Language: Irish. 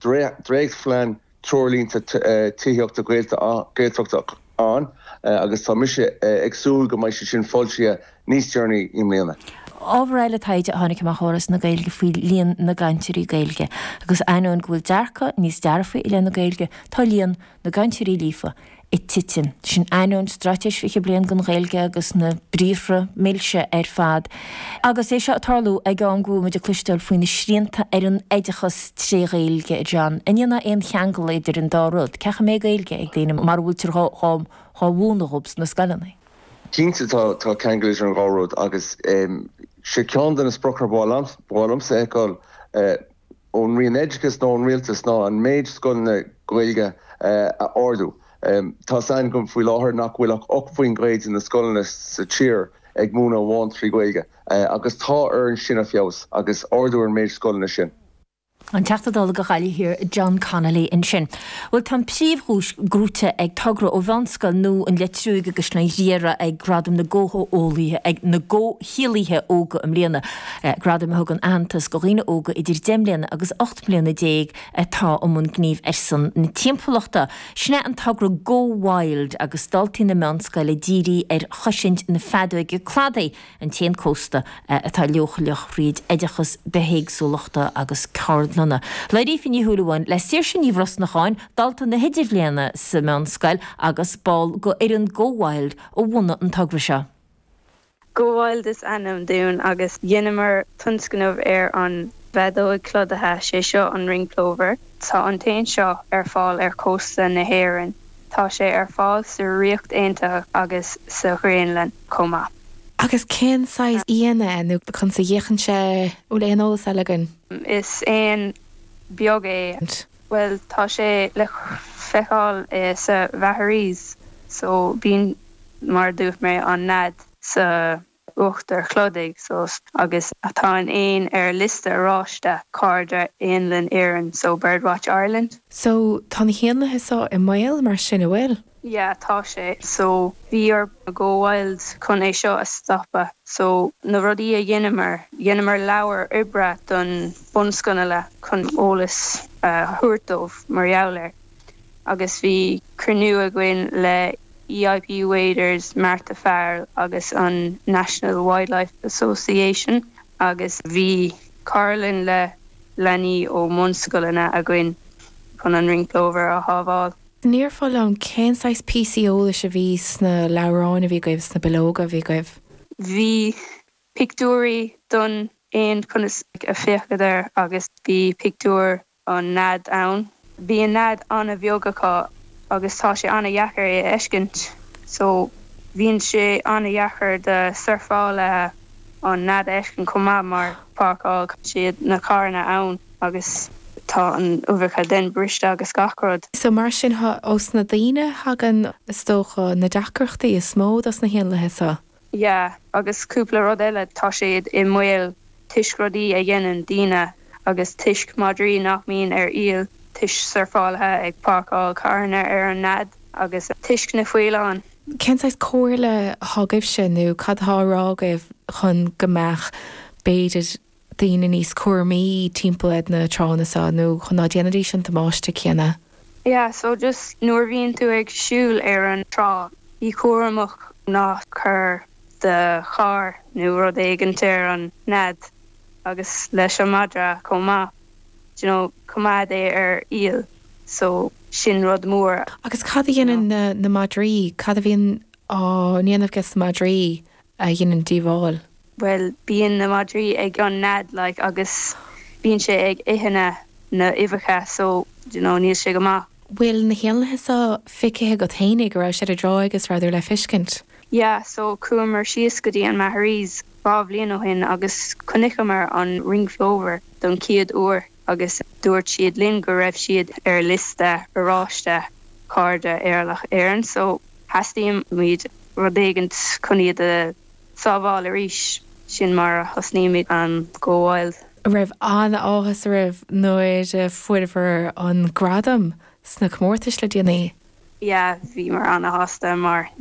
Dréachtphlean treoirlínte tithíochta Gaeltachta ann agus tá mise ag súil go mbeidh sé sin foilsithe níos deireanaí i mbliana. Ábhar eile taighde a tháinig amach ó Fhoras na Gaeilge faoi líon na gcainteoirí Gaeilge agus ainneoin go bhfuil dearcadh níos dearfaí i leith na Gaeilge, tá líon na gcainteoirí líofa ag titim. Sin ainneoin Straitéis 20 Bliain don Ghaeilge agus na briathra milse ar fad. Agus é seo ag tarlú ag am go bhfuil muid ag cloisteáil faoi na srianta ar an oideachas tré Ghaeilge, a John. An ndéanfá aon cheangal idir an dá rud? Cén chaoi a mbeidh Gaeilge ag daoine mara bhfuiltear dhá mhúineadh dhóibh sna scoileanna? Cinnte tá ceangal idir an dhá rud agus sé ceann de na spriocanna ba mhaith liomsa a fheiceáil ón Roinn Oideachais nó ón Rialtas ná an méid scoileanna Gaeilge a ardú. Tá's againn faoi láthair nach bhfuil ach 8% de na scoileanna sa tír ag múineadh amháin trí Ghaeilge agus tá orainn sin a feabhas agus ardú ar an méid scoileanna sin. An Teachta Dála do Ghaillimh Thiar John Connolly ansin. Bhuel tá an príomhdhuais gnóite ag togra ó Mheánscoil Nua an Leitriúigh i gCaisleán Ghriaire ag Gradaim na gComheolaithe ag na gComhshaolaithe Óga i mbliana. Gradaim a thugann aitheantas do dhaoine óga idir 10 mbliana agus 18 mbliana atá i mbun gnímh ar son na timpeallachta. Sin é an togra Go Wild agus daltaí na meánscoile dírithe ar chosaint na feadóige cladaigh, an t-éan cósta atá leochaileach thríd oideachas bithéagsúlachta agus ceardlanna. Labhair Aoife Ní Shúilleabháin le Saoirse Ní Bhrosnacháin, dalta na hidirbhliana sa meánscoil agus ball d'fhoireann Go Wild a bhunaigh an togra seo. Go Wild is ainm dúinn agus dheineamar tionscnamh ar an bhfeadóig chladaithe, sé seo an ring plover. Tá an t-éan seo ar fáil ar chósta na hÉireann. Tá sé ar fáil sa Ríocht Aontaithe agus sa Ghraonlainn chomh maith. Agus cén saghas éan é nó conas a fhéachann sé, bhfuil aon eolas eile againn? Is éan beag é. Bhuel tá sé le feiceáil sa Mhaharees so bíonn mar a dúirt mé an nead sa uachtar chladaigh so agus tá an éan ar liosta oráiste Cairde Éanlann Éireann so Birdwatch Ireland. So tá na héanlaithe so i mbaol mar sin, an bhfuil? Yeah tá sé so bhí ar Go Wild chun é seo a stopadh so na rudaí a dheineamar, dheineamar leabhar oibre don bunscoileanna chun eolas a thabhairt dóibh mar gheall air agus bhí cruinniú againn le EIP Waders, Martha Farrell agus an National Wildlife Association agus bhí ceardlann le leanaí ó mbunscoileanna againn chun an ring plover a shábháil. An ndéarfá liom cén saghas píosaí eolais a bhí sna leabhráin a bhí agaibh, sna bileoga a bhí agaibh? Bhí pictiúirí don éan conas a féachadh air agus bhí pictiúr an nead ann. Bíonn nead an-bheag acu agus tá sé an-dheacair é a fheiscint so bhíonn sé an-dheacair do surfálaithe an nead a fheiscint chomh maith mar páirceáil siad na carranna ann agus tá an uibheacha then briste agus gach rud. So mar sin ós na daoine a thagann is dócha na deacrachtaí is mó dos na héanlaithe so. Yeah agus cúpla rud eile tá siad i mbaol toisc rudaí a dhéanann daoine agus toisc madraí nach mbíonn ar iall, toisc surfálaithe ag páirceáil carranna ar an nead agus toisc na faoileáin. Cén saghas comhairle atá agaibhse nó cad atá á rá agaibh chun go mbeadh b'fhéidir daoine níos cúramaí timpeall ar na tránna seo nó chun ná déanfaidís an damáiste céanna? Yeah so just nuair a bhíonn tú ag siúl ar an trá bí cúramach ná cuir do charr nó rud éigint ar an nead agus leis an madra chomh maith do you know coimeád é ar iall so sin rud mór. Agus cad a dhéanann na na madraí, cad a bhíonn á ndéanamh ages na madraí a dhéanann díobháil? Bhuel bíonn na madraí ag an nead like agus bíonn sé ag ithe na na uibheacha so do you know níl sé go maith. Bhfuil na héanlaithe seo feicthe agat fhéinig, an raibh siad ar an dtráigh agus rabhadar le feiscint? Yeah so chuamar síos go dtí an Maharees 2 bhliain ó shin agus chonaiceamar an ring plover don chéad uair agus dúirt siad linn go raibh siad ar liosta oráiste Cairde Éanlaithe Éireann so theastaigh muid rud éigint chun iad a sábháil arís. Sin mar a thosnaímid an Go Wild. An raibh an-áthas oraibh nuair a fuaireabhar an gradam sna comórtais le déanaí? Yeah, bhíomar an-shásta mar.